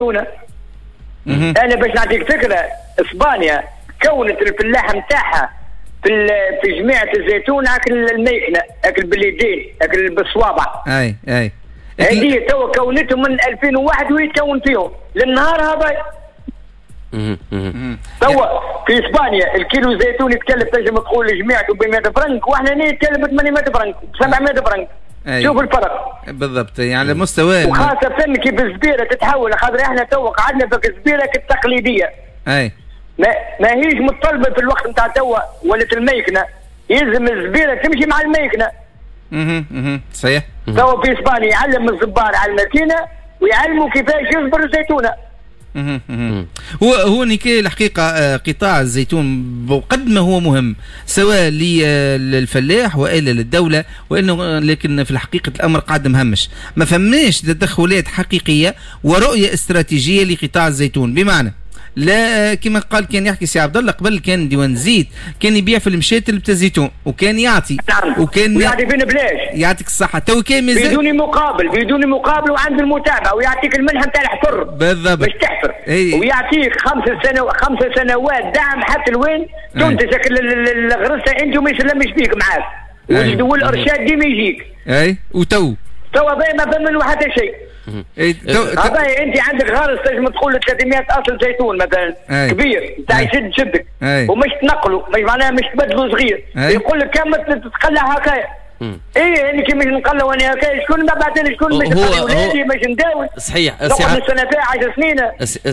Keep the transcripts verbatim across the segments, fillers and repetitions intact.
الزيتونه. انا باش نعطيك فكرة، اسبانيا كونت الفلاح نتاعها في في جميعة الزيتون اكل الميكنه، اكل باليدين، اكل بالصوابع. اي اي هذه توا كونتهم من ألفين وواحد وهي تكون فيهم للنهار هذا. توا في اسبانيا الكيلو زيتون يتكلف تنجم تقول لجميعته ب مئة فرنك، واحنا هنا يتكلف ب ثمانمئة فرنك، سبعمئة فرنك. أي. شوف الفرق بالضبط، يعني على مستوى، وخاصة كيف الزبيرة تتحول، خاطر احنا توا قعدنا في الزبيرة التقليدية. اي ما ما هيش متطلبة في الوقت نتاع توا، ولات الميكنة، يلزم الزبيرة تمشي مع الميكنة. اها اها صحيح. توا في اسبانيا يعلم الزبار على الماكينة ويعلموا كيفاش يصبر الزيتونة. هو هو نيكي الحقيقة قطاع الزيتون بقد ما هو مهم سواء للفلاح والا للدولة، وانه لكن في الحقيقة الامر قاعد مهمش، ما فماش تدخلات حقيقية ورؤية استراتيجية لقطاع الزيتون. بمعنى لا كما قال كان يحكي سي عبد الله قبل، كان ديوان زيت كان يبيع في المشاتل بتاع الزيتون وكان يعطي وكان ويعطي فينا بلاش، يعطيك الصحة تو كان مازال بدون مقابل، بدون مقابل، وعند المتابعة ويعطيك المنحة نتاع الحفر بالضبط باش تحفر. ايه. ويعطيك خمس سنوات خمس سنوات دعم حتى لوين تنتج الغرسه انت وما يسلمش فيك معاك، والارشاد ديما يجيك. اي وتو توا ما فما منه حتى شيء. إيه هذا انت عندك غرس تنجم تقول ثلاثمئة اصل زيتون مثلا. أي. كبير نتاع يشد شدك ومش تنقله، مش معناها مش تبدله صغير. أي. يقول لك كم تتقلع هكايا. ايه يعني كي مش نقلع وانا هكايا شكون ما بعثني، شكون مش نقلع ولادي مش نداوي. صحيح سي السنة عشر سنين.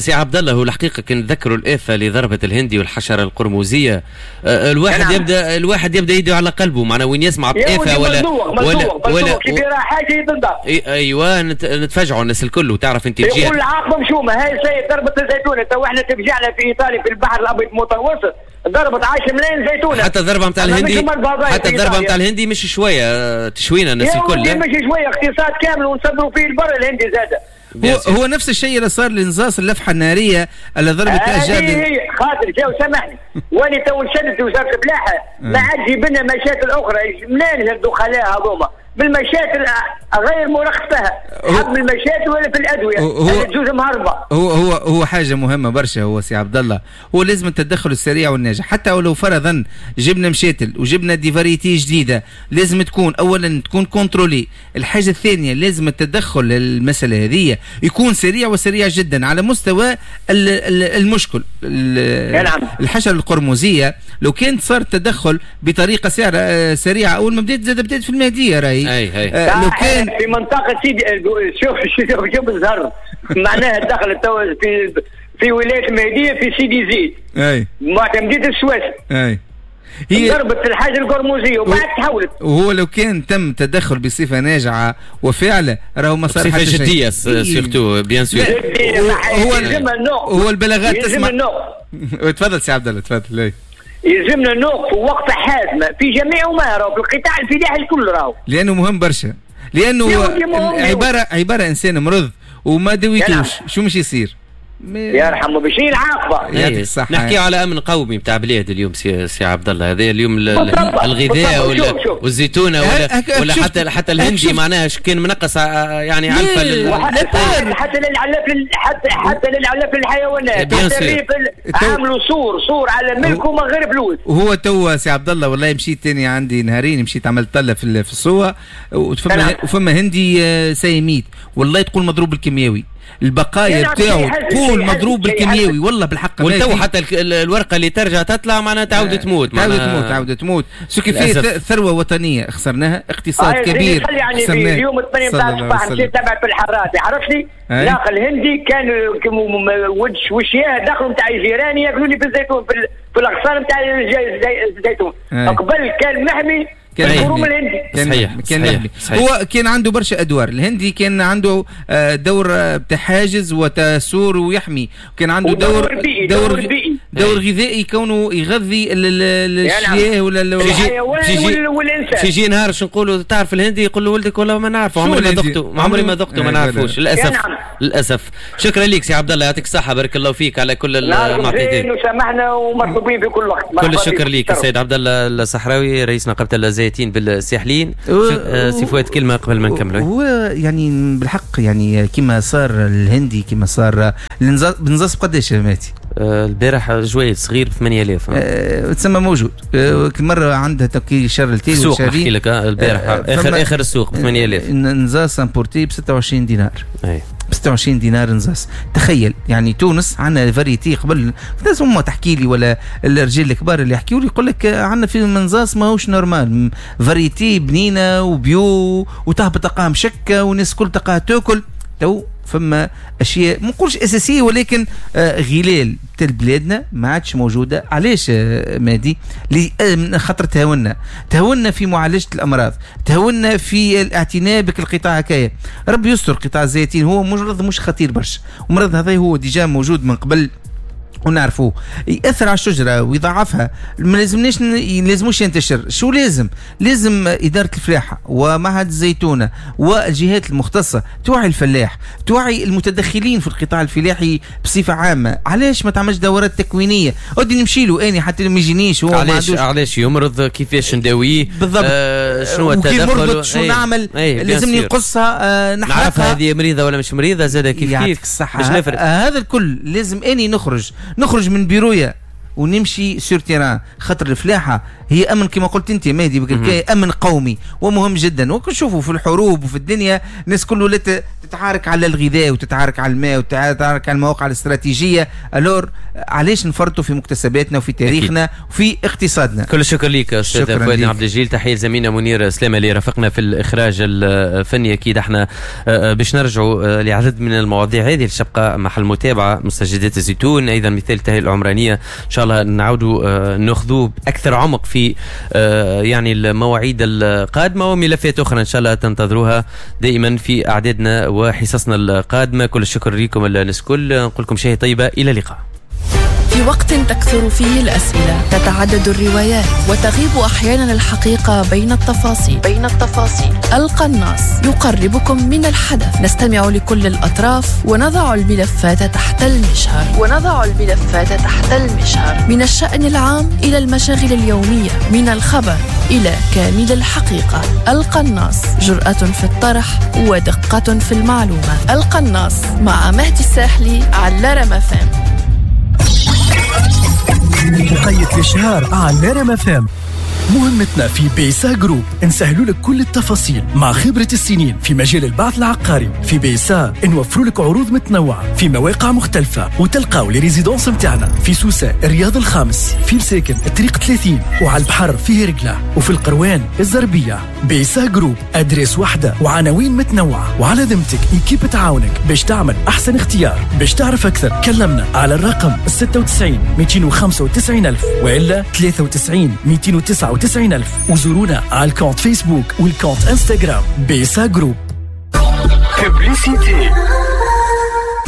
سي عبد الله، هو الحقيقة كي نتذكروا الافة اللي ضربت الهندي والحشره القرمزيه، الواحد نعم. يبدا الواحد يبدا يده على قلبه، معناها وين يسمع بآفه ولا ولا ولا كي يرى حاجة يتنضف. ايوه نتفاجعوا الناس الكل، وتعرف انت الجهة يقول العاقبة مشومه، هاي سيد ضربت الزيتونه. تو احنا تفجعنا في ايطاليا في البحر الابيض المتوسط ضربت عشرة ملايين زيتونه. حتى الضربة نتاع الهندي، حتى الضربة نتاع الهندي مش شوية تشوينا الناس الكل، مش شوية، اقتصاد كامل ونصدروا فيه البر الهندي زاد. هو, هو نفس الشيء اللي صار لنزاص اللفحه النارية اللي ضربت اشجار. هي خاطر جاو سامحني واني تو نشدت وزارة الفلاحة ما عاد جيب لنا مشاكل اخرى، منين الدخلاء هذوما بالمشاكل غير مرخص فيها، حب المشاكل ولا في الادوية هو تجوز مهربه. هو هو هو حاجة مهمة برشا هو سي عبد الله، هو لازم التدخل السريع والناجح، حتى ولو فرضا جبنا مشاتل وجبنا des variétés جديدة، لازم تكون اولا تكون contrôlée، الحاجة الثانية لازم التدخل للمسالة هذه يكون سريع وسريع جدا على مستوى المشكل. الحشرة القرمزيه لو كان صار التدخل بطريقة سريعة اول ما بدات زاد بدات في المهدية راهي. اي اي آه لو كان في منطقة سيدي، شوف شوف شوف الزهر معناها دخلت تو في في ولاية المهدية في سيدي زيد. اي معتمديه السويس. اي هي ضربت الحاجة القرمزيه وبعد تحولت. وهو لو كان تم تدخل بصفة ناجعة وفعله راهو ما صار حتى شيء. بصفة جدية surtout bien sûr. هو هو البلاغات تسمع. تفضل سي عبد الله تفضل. يلزمنا نوقف وقفه حازمة في جميع ما راهو في القطاع الفلاحي الكل راهو، لانه مهم برشا، لانه عبارة عبارة انسان مرض وما دويتوش شو مش يصير؟ يرحمه باش العاقبة. يعطيك الصحة. نحكي على امن قومي نتاع بلاد اليوم سي, سي عبد الله، هذا اليوم الغذاء ولا والزيتونه ولا ولا حتى حتى الهندي معناها كان منقص يعني علفه لل... حتى للعلاف حتى حتى للعلاف للحيوانات، حتى عملوا سور سور على ملكه من غير فلوس. وهو تو سي عبد الله والله مشيت ثاني عندي نهارين مشيت عملت طله في في السوق، وفما وفما هندي سيميت والله تقول مضروب بالكيمياوي، البقايا بتاعه تقول مضروب بالكيمياوي والله بالحق. والتو حتى الورقة اللي ترجع تطلع معناها تعاود تموت، تعاود تموت تعاود تموت. ce qui fait ثروة وطنية خسرناها، اقتصاد آه كبير يعني خسرناه. اليوم ثمانية نتاع الصباح مشيت تبع في الحراتي عرفتني، ناقل هندي كان وش وشياه دخلوا نتاع جيراني ياكلوا لي في الزيتون في, في الاغصان نتاع الزيتون. قبل كان محمي كان الهندي. كان صحيح كان صحيح صحيح. هو كان عنده برشا ادوار، الهندي كان عنده دور تحاجز وتسور ويحمي، كان عنده دور بيئي دور دور بيئي دور غذائي كونه يغذي الشياه ولا الحيوان والانسان. يجي نهار شو نقولوا تعرف الهندي يقول له ولدك والله ما نعرفه، عمري ما ذقته، عمري ما ذقته، ما نعرفوش للاسف. للاسف. شكرا لك سي عبد الله، يعطيك الصحة، بارك الله فيك على كل المعطيات. وسامحنا ومطلوبين في كل وقت. كل الشكر لك السيد عبد الله الصحراوي رئيس نقابة الزيتين بالساحلين. سي فؤاد كلمة قبل ما نكملوا. هو يعني بالحق يعني كما صار الهندي كما صار النزاص بقداش يا ماتي؟ البارح جويد صغير ب ثمانية آلاف أه تسمى موجود. أه كل مرة عندها تكي شر التيل السوق نحكي لك البارح أه اخر اخر السوق ب ثمانية آلاف. نزاص importé ب ستة وعشرين دينار. اي ب ستة وعشرين دينار نزاص. تخيل يعني تونس عندنا variété قبل الناس ما تحكي لي ولا الرجال الكبار اللي يحكيوا لي يقول لك عندنا في منزاص ماهوش normal، variété بنينه و bio وتهبط تلقاها مشكه والناس الكل تلقاها تاكل. تو فما اشياء ما نقولش اساسية ولكن آه غلال تاع بلادنا ما عادش موجودة. علاش آه مادي؟ خاطر تهاونا، تهاونا في معالجة الامراض، تهاونا في الاعتناء بالقطاع هكايا. ربي يستر قطاع الزيتين هو مرض مش خطير برشا، ومرض هذا هو déjà موجود من قبل ونعرفوه، يأثر على الشجرة ويضعفها، ما لازمناش لازموش ينتشر. شو لازم؟ لازم إدارة الفلاحة ومعهد الزيتونة والجهات المختصة توعي الفلاح، توعي المتدخلين في القطاع الفلاحي بصفة عامة. علاش ما تعملش دورات تكوينية؟ ودي نمشي له أني حتى ما يجينيش هو. علاش علاش يمرض؟ كيفاش نداويه؟ بالضبط. آه شنو التدخل؟ شو أي. نعمل؟ أي. لازمني نقصها، آه نحرقها، نعرفها هذه مريضة ولا مش مريضة زاد كيف كيف باش نفرق. آه هذا الكل لازم أني نخرج نخرج من بيرويا ونمشي sur terrain، خاطر الفلاحة هي امن كما قلت انت مهدي بكركاي، امن قومي ومهم جدا. وكنشوفوا في الحروب وفي الدنيا الناس كله لا تتعارك على الغذاء وتتعارك على الماء وتتعارك على المواقع الاستراتيجية. alors علاش نفرطوا في مكتسباتنا وفي تاريخنا وفي اقتصادنا؟ كل الشكر لك استاذ فؤاد عبد الجليل، تحية لزميلنا منير سلامه اللي رافقنا في الاخراج الفني. اكيد احنا باش نرجعوا لعدد من المواضيع هذه اللي تبقى محل متابعه، مستجدات الزيتون، ايضا مثال التهيئه العمرانية، ان شاء الله نعاودوا ناخذوه باكثر عمق في يعني المواعيد القادمة، وملفات اخرى ان شاء الله تنتظروها دائما في اعدادنا وحصصنا القادمة. كل الشكر لكم الناس الكل، نقول لكم شهية طيبة، الى اللقاء. في وقت تكثر فيه الأسئلة، تتعدد الروايات، وتغيب أحيانا الحقيقة بين التفاصيل بين التفاصيل. القناص يقربكم من الحدث، نستمع لكل الأطراف ونضع الملفات تحت المجهر ونضع الملفات تحت المجهر من الشأن العام إلى المشاغل اليومية، من الخبر إلى كامل الحقيقة. القناص جرأة في الطرح ودقة في المعلومة. القناص مع مهدي الساحلي على رما فام. مقيد الإشهار على رما فام. مهمتنا في بيسا جروب نسهلوا لك كل التفاصيل مع خبرة السنين في مجال البعث العقاري. في بيسا نوفروا لك عروض متنوعة في مواقع مختلفة، وتلقاو les résidences متاعنا في سوسة الرياض الخامس، في مساكن الطريق ثلاثين، وعلى البحر في هرقلة، وفي القروان الزربية. بيسا جروب adresse واحدة وعناوين متنوعة، وعلى ذمتك équipe تعاونك باش تعمل أحسن اختيار. باش تعرف أكثر كلمنا على الرقم ستة وتسعين مئتين وخمسة وتسعين ألف وإلا ثلاثة وتسعين مئتين وتسعة وتسعين ألف، وزورونا على ال compte فيسبوك وال compte انستغرام بيسا جروب. publicité.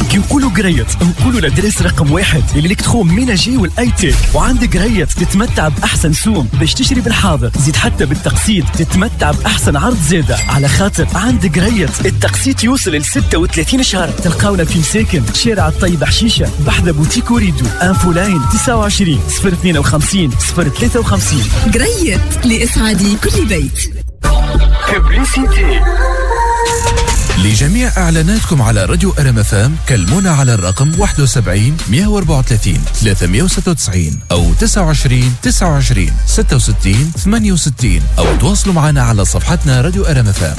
كي نقولوا قريت نقولوا l'adresse رقم واحد ال électroménager وال high-tech، وعند قريت تتمتع باحسن سوم باش تشري بالحاضر، زيد حتى بالتقسيط تتمتع باحسن عرض زاده، على خاطر عند قريت التقسيط يوصل ل ستة وثلاثين شهر. تلقاونا في مساكن شارع الطيب حشيشه بحذا بوتيك وريدو، infoline تسعة وعشرين صفر اثنين وخمسين صفر ثلاثة وخمسين. قريت لاسعاد كل بيت. publicité. لجميع إعلاناتكم على راديو أر إم إف إم كلمونا على الرقم واحد وسبعين مئة وأربعة وثلاثين ثلاثمئة وستة وتسعين أو تسعة وعشرين تسعة وعشرين ستة وستين ثمانية وستين، أو تواصلوا معنا على صفحتنا راديو أر إم إف إم.